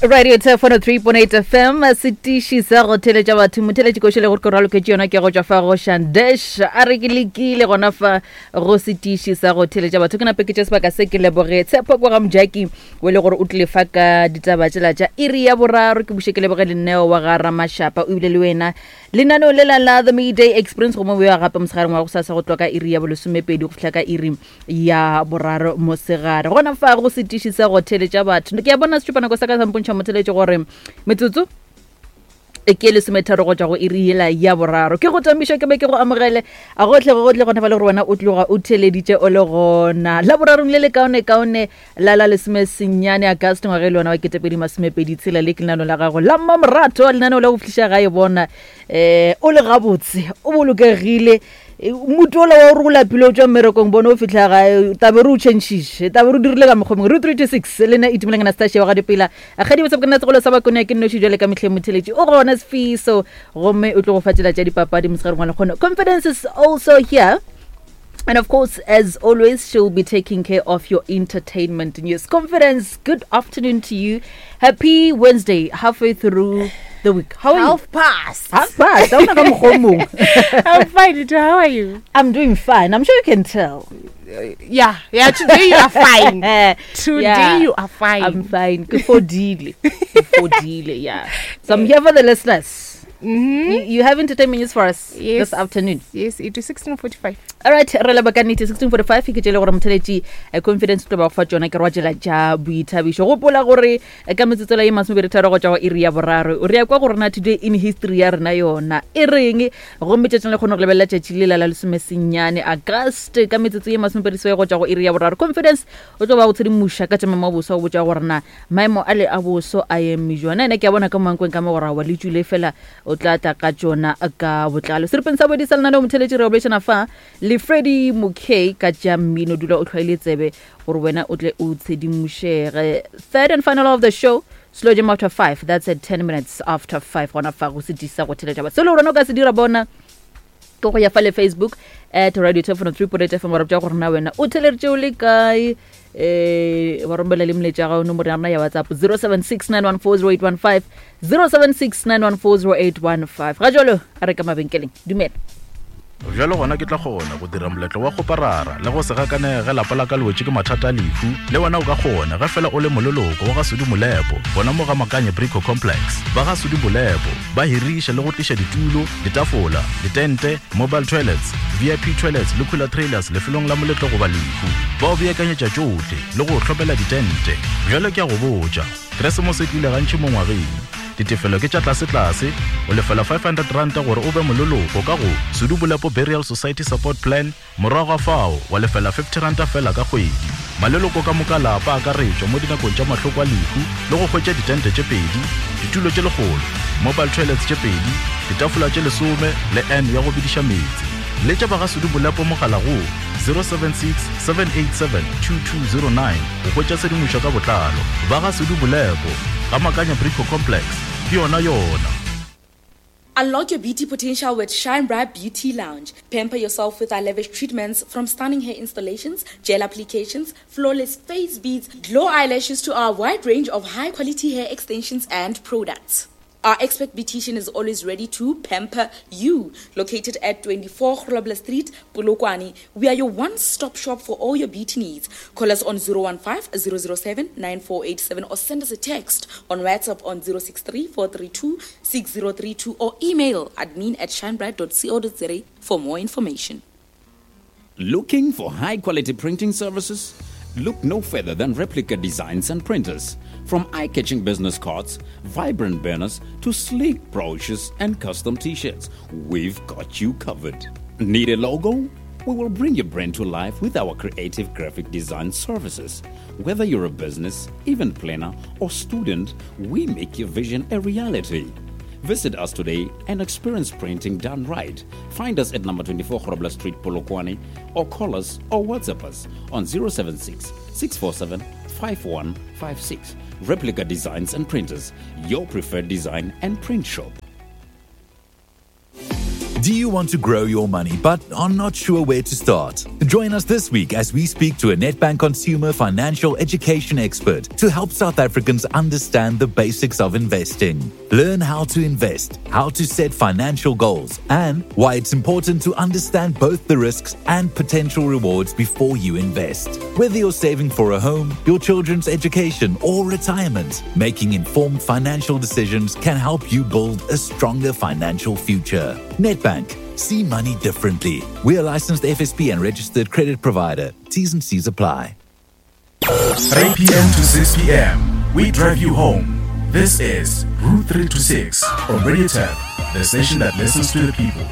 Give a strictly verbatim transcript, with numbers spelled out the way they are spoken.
Radio Turf one oh three point eight F M, setiši sa go theletša batho. Motheletši košo le gore ke raloketše yona ke go tšwa fa go Shandesh, a re ke lekile gona fa go setiši sa go theletša batho. Ke nape ke tše sebaka se ke leboge Tshepo kwa ga Mojaki o e le gore o tlile fa ka ditaba tšela tša iri ya boraro. Ke buše ke leboge Leneo wa ga Ramašapa, o ebile le wena lenaneo lela la The Midday Experience, gomme o ya gape mosegareng wa go sasa go tloga ka iri ya bolesomepedi go fihla ka iri ya boraro mosegare gona fa go setiši sa go theletša batho. Ke a bona setšupanako sa ka sa mpontšha, motheletše, gore metsotso e ke lesometharo go tšwa go iri yela ya boraro. Ke go tamiša ke be ke go amogele a gotlhe gotlhe gona fa le gore wena o tloga o theleditše o le gona la borarong le le kaone kaone la la lesome senyane Agast ngwaga e le yona wa ketepedi masomepedi tshela. Le ke lenano la gago la mmamorato, lenaneo la go fihliša gae bona um o le gabotse, o bolokegile. Motho ola wa gore o lapile o tswa mmerekong, bone o fitlha gae tabe re o changile, tabe re o dirile ka mokgwa mongwe. Re three to six le nna Itumeleng Anastasia wa ga Dipela kgadi botse ke nna segolo sa bakone ke nnoši. Jwale ka mehleng motheletši o gona Sefiso, gomme o tlo go fa tsela tša dipapadi mosegareng wa lekgono. Confidence is also here. And of course, as always, she'll be taking care of your entertainment news. Confidence, good afternoon to you. Happy Wednesday, halfway through the week. How are you? Half past. Half past. Ha hona ka mokgwa o mong. I'm fine. Ito. How are you? I'm doing fine. I'm sure you can tell. Uh, yeah, yeah. Today you are fine. Today Yeah. you are fine. I'm fine. Ke fodile. Ke fodile, yeah. So I'm here for the listeners. mm-hmm. You, you have entertainment news for us Yes. this afternoon. Yes, it is sixteen forty-five. All right, re leba ka nnete sixteen forty-five ke tšele gore motheletši eh, Confidence tlo ba go fa tšona ke re wa tšela tša boithabišo. Gopola gore eh, ka metsotsela ye masomepedi tharo go tšwa go iri ya boraro re ya kwa go rena today in history ya rena yona e reng, gomme tšatšing le kgone go lebelela tšatši le la la lesomesenyane Agast ka metsotso ye masomepedi seswai go tšwa go iri ya boraro. Confidence o tlo ba go tshedimoša ka tša maemo a boso, go botša gore na maemo a le a boso a eme jona. Ene ke a bona ka moankweng ka mo gore wa le tšwile fela, o tla tla ka tšona ka botlalo seripeng sa bodi sa lenaneo. Motheletši, re bolešana fa le Freddy Mokay ka tša mmino. Dula o tlhwaile tsebe gore wena o tle o tshedimošege. Third and final of the show, Slow Jam after five, that's at ten minutes after five gona fa go setisa go theletša ba. Se le gore wena o ka se dira bona ke go ya fa le Facebook at Radio three point eight F M, wa re botša gore na wena o theleditše o le kae, eh wa romela le moletša gago nomoro ya rona ya WhatsApp zero seven six nine one four zero eight one five, zero seven six nine one four zero eight one five. Ga jalo a re ka mabenkeleng, dumela. Bjalo gona ke tla kgona go dira moletlo wa go parara le go se gakanege lapa la ka le wetše ke mathata a lehu. Le wena o ka kgona ge fela o le moleloko wa ga Sudi Molepo gona mo ga Makanye Brico Complex. Ba ga Sudi Molepo ba hiriša le go tliša ditulo, ditafola, ditente, mobile toilets, V I P toilets le cooler trailers lefelong la moletlo goba lehu. Ba o beakanyetša tšohle le go hlopela ditente. Bjalo ke a go botša, Keresemose e tlile gantši mo ngwageng. Ditefelo ke tša tlasetlase, o lefela five hundred ranta gore o be moleloko ka go Sudu Bolepo Burial Society Support Plan. Morago ga fao wa lefela fifty ranta fela ka kgwedi. Maleloko ka moka lapa akaretšwa mo dinakong tša mahloko a lehu le go hwetša ditente tše pedi, ditulo tše lekgolo, mobile toilets tše pedi, ditafola tše lesome le n ya go bediša meetse. Letša ba ga Sudu Bolepo mogala go zero seven six seven eight seven two two zero nine go hwetša tshedimošo ka botlalo. Ba ga Sudu Bolepo ga Makanya Brico Complex ke yona yona. Unlock your beauty potential with Shine Bright Beauty Lounge. Pamper yourself with our lavish treatments, from stunning hair installations, gel applications, flawless face beads, glow eyelashes to our wide range of high quality hair extensions and products. Our expert beautician is always ready to pamper you. Located at twenty-four Grobler Street, Polokwane, we are your one-stop shop for all your beauty needs. Call us on zero one five zero zero seven nine four eight seven or send us a text on WhatsApp on zero six three four three two six zero three two or email admin at shinebright dot co dot za for more information. Looking for high quality printing services? Look no further than Replica Designs and Printers. From eye catching business cards, vibrant banners, to sleek brochures and custom t shirts, we've got you covered. Need a logo? We will bring your brand to life with our creative graphic design services. Whether you're a business, event planner, or student, we make your vision a reality. Visit us today and experience printing done right. Find us at number twenty-four Grobler Street, Polokwane, or call us or WhatsApp us on zero seven six six four seven five one five six. Replica Designs and Printers, your preferred design and print shop. Do you want to grow your money but are not sure where to start? Join us this week as we speak to a Nedbank consumer financial education expert to help South Africans understand the basics of investing. Learn how to invest, how to set financial goals, and why it's important to understand both the risks and potential rewards before you invest. Whether you're saving for a home, your children's education, or retirement, making informed financial decisions can help you build a stronger financial future. Nedbank. See money differently. We are licensed F S P and registered credit provider. T's and C's apply. three p m to six p m We drive you home. This is Route three to six on Radio Tap, the station that listens to the people.